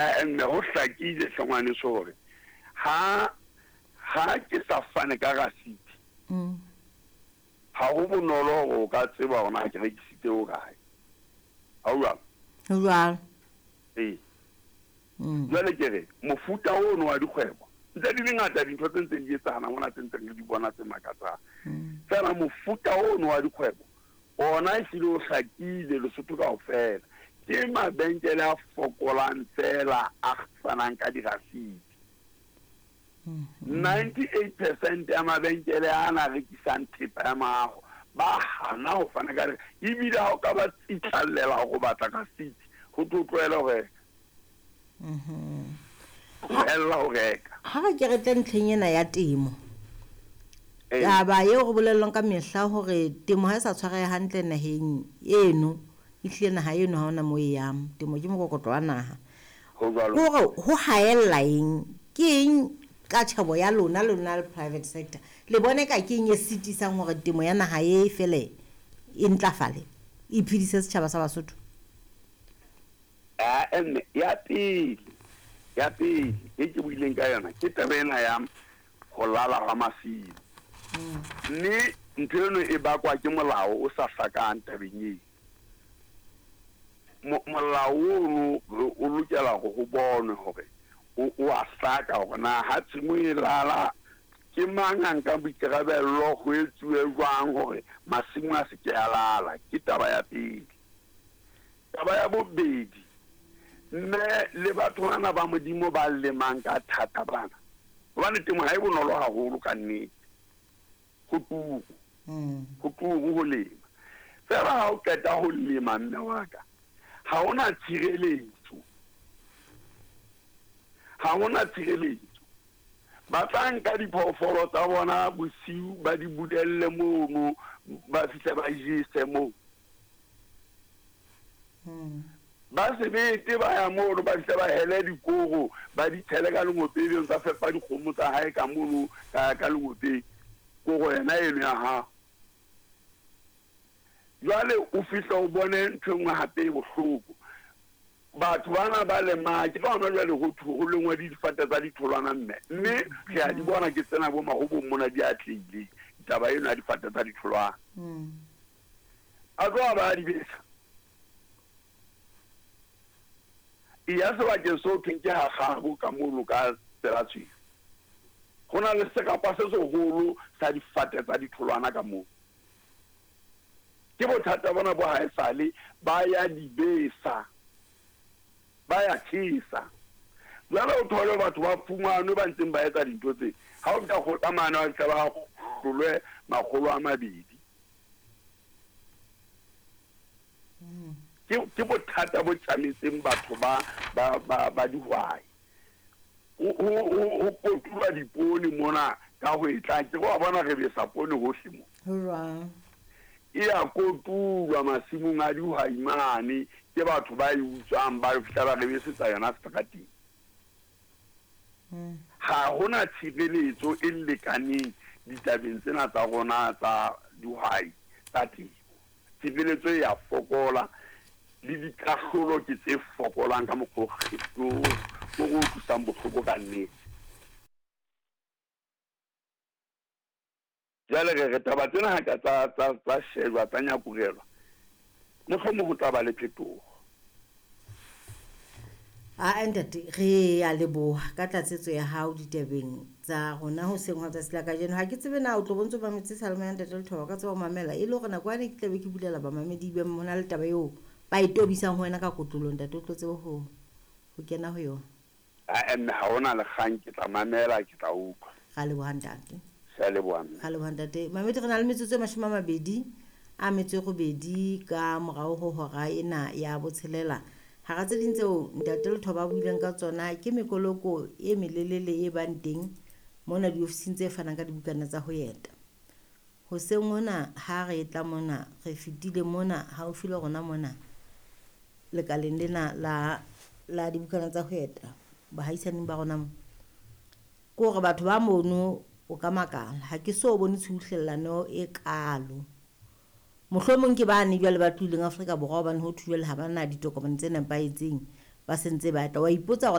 Mme ho hlakile hle ngwaneso hore ha ha ke sa fane ka rasiti, ha ho bonolo hore o ka tseba hore na ke rekisitse ho kae. Ha ho jwalo? Ho jwalo. Ee. Jwale ke re mofuta ono wa dikgwebo, ntse di le ngata dintho tse ntseng di etsahala mona tse ntseng re di bona tse makatsang. Feela mofuta ono wa dikgwebo ona ehlile o hlakile Lesotho kaofela. Ke mabenkele a fokolang feela a fanang ka dirasiti. 98% ya mabenkele ana a rekisang thepa ya maaho ba hana ho fana ka, ebile ha o ka ba tsitlallela hore o batla rasiti, ho thwe o tlohele ho reka. Tlohella ho reka. Ha re ke re tle ntlheng ena ya temo. Taba eo re bolellwang ka mehla hore temo ha e sa tshwareha hantle naheng eno, ehlile naha eno ha hona moo e yang. Temo ke mokokotlo wa naha. Ho jwalo. Hore ho haella eng? Ke eng ka tjhebo ya lona, lona le private sector? Le bone ka ke eng e sitisang hore temo ya naha e fele e ntlafale, e phedise setjhaba sa Basotho? Ae mme, ya pele, ya pele e ke buileng ka yona ke taba ena ya ho lala hwa masimo. Mme ntho eno e bakwa ke molao o sa hlakang tabeng eo. Molao ono o lokela hore ho bonwe hore o a hlaka hore na ha tshimo e lala ke mang a nkang boikarabello, ho etsuwe jwang hore masimo a se ke a lala. Ke taba ya pele. Taba ya bobedi, mme le batho bana ba Modimo ba lemang ka thata bana, hobane temo ha e bonolo haholo ka nnete, ho turu, ho turu ho lema. Feela ha o qeta ho lema, mme wa ka, ha hona tshireletso, ha hona tshireletso. Ba tla nka diphoofolo tsa bona bosiu ba di bulelle mono, ba fihle ba jese moo. Ba sebete ba ya mono, ba fihle ba hele dikoro, ba di tshele ka lengopeng, ebe ntsa fepa dikgomo tsa hae ka mono ka lengopeng, koro yena eno ya hao. Jwale o fihle o bone ntho e nngwe hape e bohloko. Batho bana ba lemang, ke ka hona jwale ho thwe ho lengwa le difate tsa ditholwana mme, mme re a di bona ke tsena bo mahobong mona di atlehile taba eno ya difate tsa ditholwana. A tloha ba a di besa. Eya sebakeng seo thweng ke ha Kgabo ka mono ka tsela tshweu. Ho na le serapa se seholo sa difate tsa ditholwana ka moo. Ke bothata bona bo haesale ba ya di besa, ba ya tjhesa. Jwale o thole batho ba fumanwe ba ntseng ba etsa dintho tse. Ha o fihla kgotla mane ba fihla ba hlolwe 200. Ke bothata bo tjametseng batho ba ba ba ba dihwai. Ho kotulwa dipoone mona ka ho e tlang. Ke re wa bona re besa poone hohle mo. Ho jwang? E a kotulwa masimong a dihwai mane ke batho ba e utswang ba fihla ba re besetsa yona seterateng. Ha hona tshireletso e lekaneng ditabeng tsena tsa rona tsa dihwai tsa temo. Tshireletso e a fokola le dikahlolo ke tse fokolang ka mokgwa o o re utlwisang bohloko ka nnete. Jwale re re taba tsena ha ka tsa tsa tsa shejwa tsa nyakurelwa, mohlomong ho tla ba le phetoho. Aa ntate, re a leboha ka tlatsetso ya hao ditabeng tsa rona hoseng hwa tsatsi la kajeno. Ha ke tsebe na o tlo bontse o mametse seyalemoya ntate Lethoba, o ka tseba ho mamela e le hore nako yane ke tla be ke bulela bamamedi be ho na le taba eo ba e tobisang ho wena ka kotlolong ntate, o tlo tsebe ho ho kena ho yona. Ae mme ha hona le kgang, ke tla mamela, ke tla utlwa. Ra leboha ntate. Sea leboha mme. Ra leboha ntate. Mamedi re na le metsotso e 28 ka morao ho hora ena ya botshelela. Hara tse ding tseo ntate Lethoba a buileng ka tsona ke mekoloko e melelele e bang teng mona diofising tse fanang ka dibukana tsa ho eta. Hoseng hona ha re tla mona re fetile mona haufi le rona mona lekaleng lena la la dibukana tsa ho eta bahaisaneng ba rona mo. Ke hore batho ba mono o ka makala ha ke so bone tshubuhlellano e kalo. Mohlomong ke bane jwale ba tlohileng Afrika Borwa hobane ho thwe jwale ha ba na ditokomane tse nepahetseng. ba sentse ba tla. Wa ipotsa hore